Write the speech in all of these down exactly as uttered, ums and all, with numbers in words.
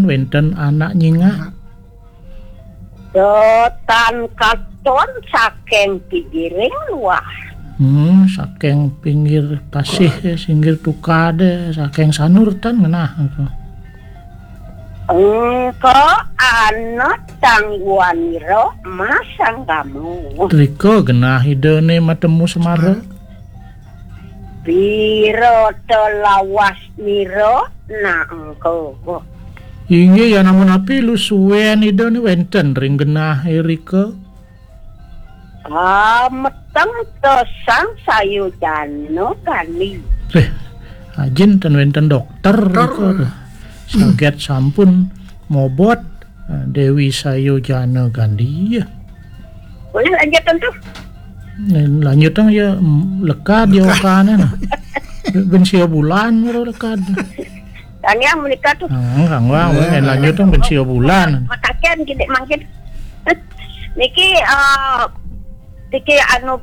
wénten anak nyingak. Tan katon saking pinggiring luah. Hmm, saking pinggir pasih, singgir tukadé, saking sanur tan ngenah. Engko ana tangguanira masanggama. Rika genah idané matemu Semara. Pira ta lawas nira nak engko. Inggih, ya namun api lu suén idané wénten ring genah irika. Ah, meteng ta sang sayujana kali. Leh, ajin ten wénten dokter. Dokter. Rika. Saget sampun mobot, eh, Déwi Sayujana Gandhi. Boleh lanjutkan tuh. Nih, lanjutang ya, mm, lekad ya. Lekad. Okané nah. Ben sia bulan baru lekad. Tanya menikah tuh. Hmm, kanggo, eh, lanjutang ben sia bulan. Makaken gini mangkin. Niki, eh, niki anu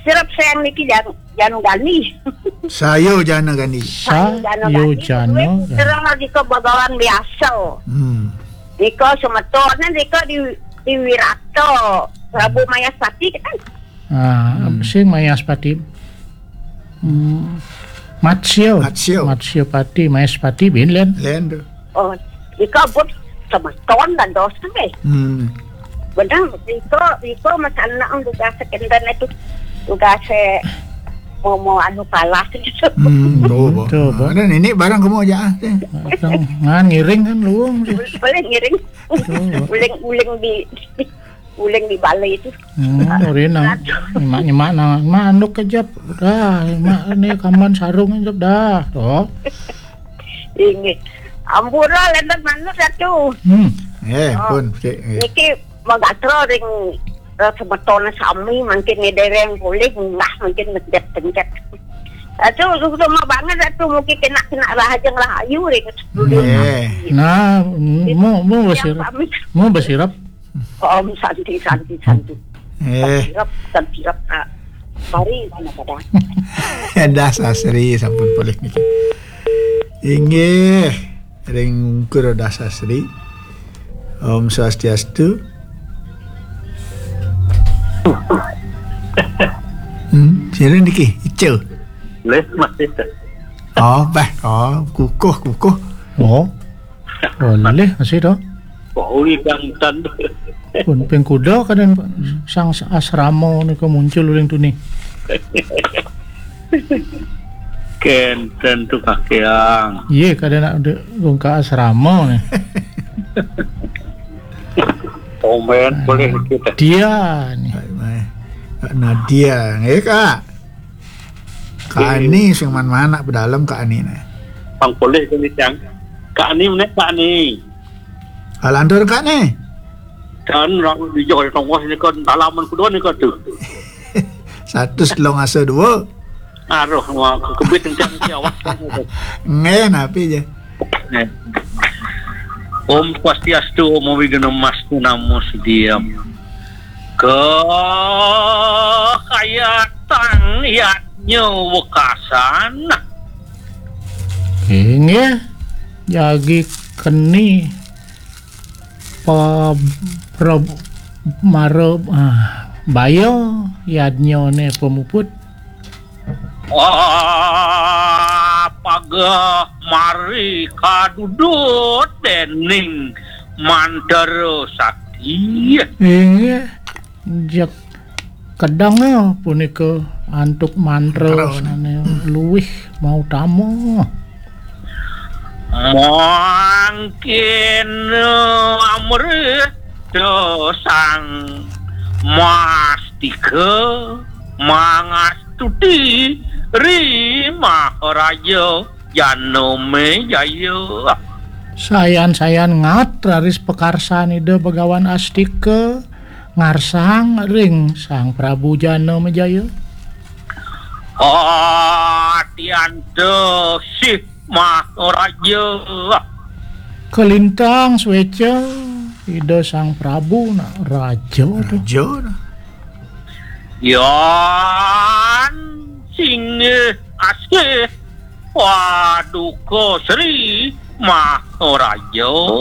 sirep sayang niki jan-, janu gani. Sayujana Gandhi. Sayujana Gandhi. Sayujana Gandhi. Terus lagi ke Bagawan biasa. Hmm. Nika semetoné nika di, di Wirata, Prabu Mayaspati kan? Ah, hmm. Sing Mayaspati. Hmm. Matsya. Matsya. Matsya Pati, Mayaspati bin lén. Lén tuh. Oh, nika buat semeton dan dosa deh. Hmm. Bener, nika, nika mas anak tugas kénten itu. Tugas mau, mau anu kalah gitu. Hmm, tuh, hmm, tuh, Bo. Ada nenek barang kamu aja ah. Ngan ngiring kan luung. Boleh ngiring. Tuh. Uling, uling di, uling di balai itu. Hmm, orina. Nyemak-nyemak nang manuk kejap. Dah, nyemak ni kaman sarung kejap dah. Tuh. Inggih. Ampura lenten manuk satu. Hmm. Eh, oh, pun, cik, eh. Niki magatra ring, eh, semeton sami mangkin ni dereng boleh mbah mangkin mencet-pencet. Satu, satu mah banget satu mungkin kena, kena rahajeng rahayu ring. Eh. Nah, mau, mau yang besirap. Pamit. Mau besirap. Om Santi, Santi, Santi. Eh. Santi Rep, Santi Rep, Kak. Mari, mana pada? Dasasri, sampun polih niki. Inggih, ring Ungkur Dasasri. Om Swastiastu. Hmm, sira niki, Ica. Leh, masih. Oh, bah, oh, kukuh, kukuh. Oh. Boleh, masih to. Wah, uli kang tan. Pun ping kuda kadén sang asrama nika muncul uling tuni. Kénten tu kakéang. Iya, kadén nak de-, gong ka asrama nih. Komen boleh kita. Dia nih. Baik, baik. Kak Nadia, nggih, Kak. Kak Ani sing man-man nak pedalem Kak Ani né. Pang polih kene, Cang. Kak Ani menek, Kak Ani. Alantur Kak Ani. Dan rang dijok di tongkos ini kan dalaman kedua nih kan tuh. Satu selong asa dua. Aduh, wah, kebit encang si awak. Nggih, napi je? Om Swastiastu, Om Awighnamastu, Namo Siddham. Kekayatan yadnya wekasan. Inggih, jagi keni pa-, pra-, mara, ah, baya yadnyane pamuput. Ah, pageh mari kadudut dening mantra sakti. Inggih, jeg kedeng punika antuk mantra. Mantra, sane luwih mautama. Mangkin amrita sang mastika mangastuti ri Maharaja Janamejaya. Sayan-sayan ngat raris pakarsan Ida Bagawan Astika ngarsang ring Sang Prabu Janamejaya. Atianta sih Maharaja. Kalintang sueca Ida Sang Prabu nak raja to. Raja to. Yan singgih asih Paduka Sri Maharaja.